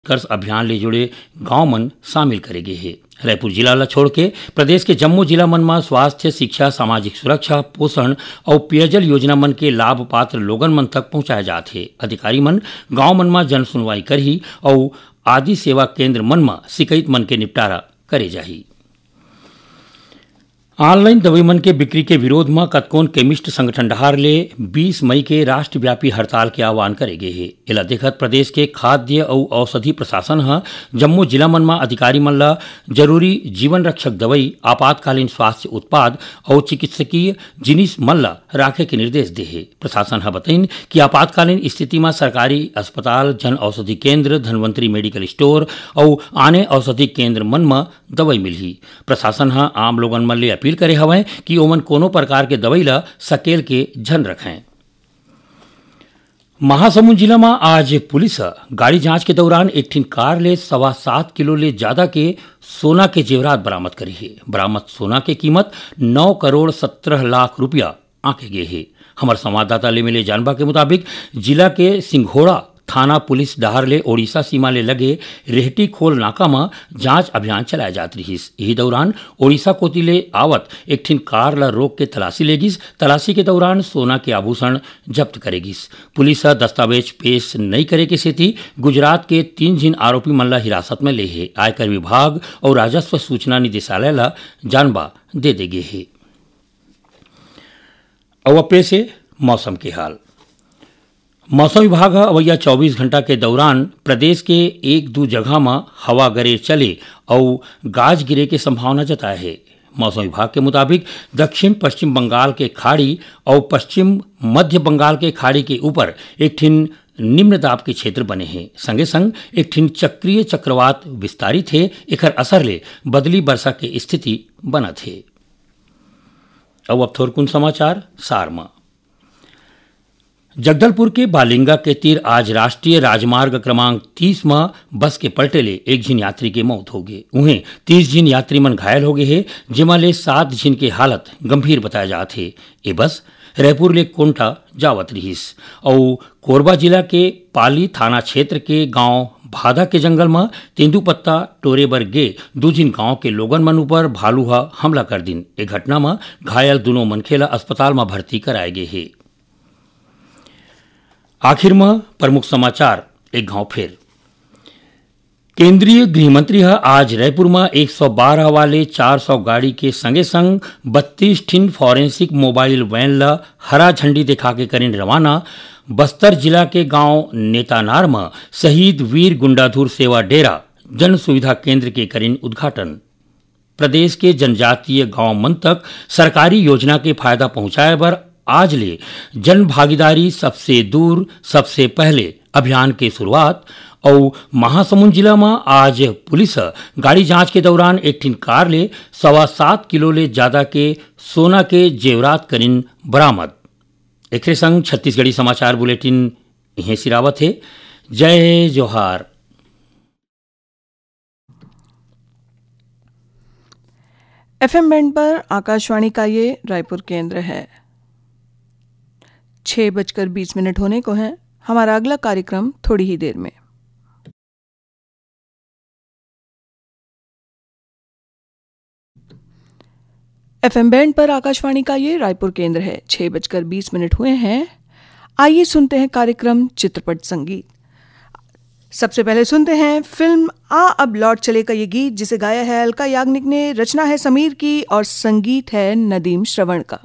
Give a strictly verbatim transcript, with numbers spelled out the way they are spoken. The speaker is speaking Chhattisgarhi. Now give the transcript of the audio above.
उत्कर्ष अभियान ले जुड़े गांव मन शामिल करे गे हे। रायपुर जिला ल छोड़ के प्रदेश के जम्मो जिला मन म स्वास्थ्य, शिक्षा, सामाजिक सुरक्षा, पोषण अउ पेयजल योजना मन के लाभ पात्र लोगन मन तक पहुंचाए जात हे। अधिकारी मन गांव मन म जन सुनवाई करही अउ आदि सेवा केंद्र मन म शिकायत मन के निपटारा करे जाही। ऑनलाइन दवाई मन के बिक्री के विरोध म कतकोन केमिस्ट संगठन डहार ले बीस मई के राष्ट्रव्यापी हड़ताल के आह्वान करे गे हे। एला देखत प्रदेश के खाद्य अउ औषधि प्रशासन ह जम्मो जिला मन म अधिकारी मन ल जरूरी जीवन रक्षक दवाई, आपातकालीन स्वास्थ्य उत्पाद अउ चिकित्सकीय जिनिस मन ल राखे के निर्देश दे हे। प्रशासन ह बतइन कि आपातकालीन स्थिति म सरकारी अस्पताल, जन औषधि केंद्र, धनवंतरी मेडिकल स्टोर अउ आने औषधि केंद्र मन म दवाई मिलही। प्रशासन ह आम लोगन मन ले अपील करे हवय कि ओमन कोनो प्रकार के दवाई ल सकेल के झन रखें। महासमुंद जिला म आज पुलिस ह गाड़ी जांच के दौरान एक ठिन कार ले सवा सात किलो ले ज्यादा के सोना के जेवरात बरामद करे हे। बरामद सोना के कीमत नौ करोड़ सत्रह लाख रुपया आंके गे हे। हमर संवाददाता ले मिले जानबा के मुताबिक, जिला के सिंघोड़ा थाना पुलिस डहार ले ओडिशा सीमा ले लगे रेहटी खोल नाका म जांच अभियान चलाए जात रिहिस। इही दौरान ओडिशा कोति ले आवत एक ठिन कार ल रोक के तलाशी ले गिस। तलाशी के दौरान सोना के आभूषण जब्त करे गिस। पुलिस ह दस्तावेज पेश नइ करे के सेती गुजरात के तीन झिन आरोपी मन ल हिरासत म ले हे। आयकर विभाग अउ राजस्व सूचना निदेशालय ल जानबा दे दे गे हे। अउ अब पेश हे मौसम के हाल। मौसम विभाग ह अवइया चौबीस घंटा के दौरान प्रदेश के एक दू जगह म हवा गरेर चले अउ गाज गिरे के संभावना जताए हे। मौसम विभाग के मुताबिक, दक्षिण पश्चिम बंगाल के खाड़ी अउ पश्चिम मध्य बंगाल के खाड़ी के ऊपर एक ठिन निम्न दाब के क्षेत्र बने हे। संगे संग एक ठिन चक्रीय चक्रवात विस्तारित हे। एखर असर ले बदली बरसा के स्थिति बनत हे। अउ अब थोरकुन समाचार सार म। जगदलपुर के बालिंगा के तीर आज राष्ट्रीय राजमार्ग क्रमांक तीस म बस के पलटे ले एक झिन यात्री के मौत होगे। उहें, तीस झिन यात्री मन घायल होगे हे, जेमा ले सात झिन के हालत गंभीर बताए जात हे। ए बस रायपुर ले कोंटा जावत रिहिस अउ कोरबा जिला के पाली थाना क्षेत्र के गांव भादा के जंगल म तेंदूपत्ता टोरे बर गे दू झिन गांव के लोगन मन ऊपर भालू ह हमला कर दिन। ए घटना म घायल दूनों मनखे ल अस्पताल म भर्ती कराए गे हे। आखिर म प्रमुख समाचार एक घांव फेर। केंद्रीय गृह मंत्री ह आज रायपुर म एक सौ बारह वाले चार सौ गाड़ी के संगे संग बत्तीस ठिन फॉरेंसिक मोबाइल वैन ल हरा झंडी दिखा के करिन रवाना। बस्तर जिला के गांव नेतानार म शहीद वीर गुंडाधुर सेवा डेरा जन सुविधा केंद्र के करिन उद्घाटन। प्रदेश के जनजातीय गांव मन तक सरकारी योजना के फायदा पहुंचाए बर आज ले जन भागीदारी सबसे दूर सबसे पहले अभियान के शुरुआत। अउ महासमुंद जिला म आज पुलिस ह गाड़ी जांच के दौरान एक ठिन कार ले सवा सात किलो ले ज्यादा के सोना के जेवरात करिन बरामद। एकरे संग छत्तीसगढ़ी समाचार बुलेटिन इहें सिरावत हे। जय जोहार। एफएम बैंड पर आकाशवाणी का ये रायपुर केंद्र है। छह बजकर बीस मिनट होने को हैं। हमारा अगला कार्यक्रम थोड़ी ही देर में। एफएम बैंड पर आकाशवाणी का ये रायपुर केंद्र है। छह बजकर बीस मिनट हुए हैं। आइए सुनते हैं कार्यक्रम चित्रपट संगीत। सबसे पहले सुनते हैं फिल्म आ अब लौट चले का ये गीत, जिसे गाया है अलका याग्निक ने, रचना है समीर की और संगीत है नदीम श्रवण का।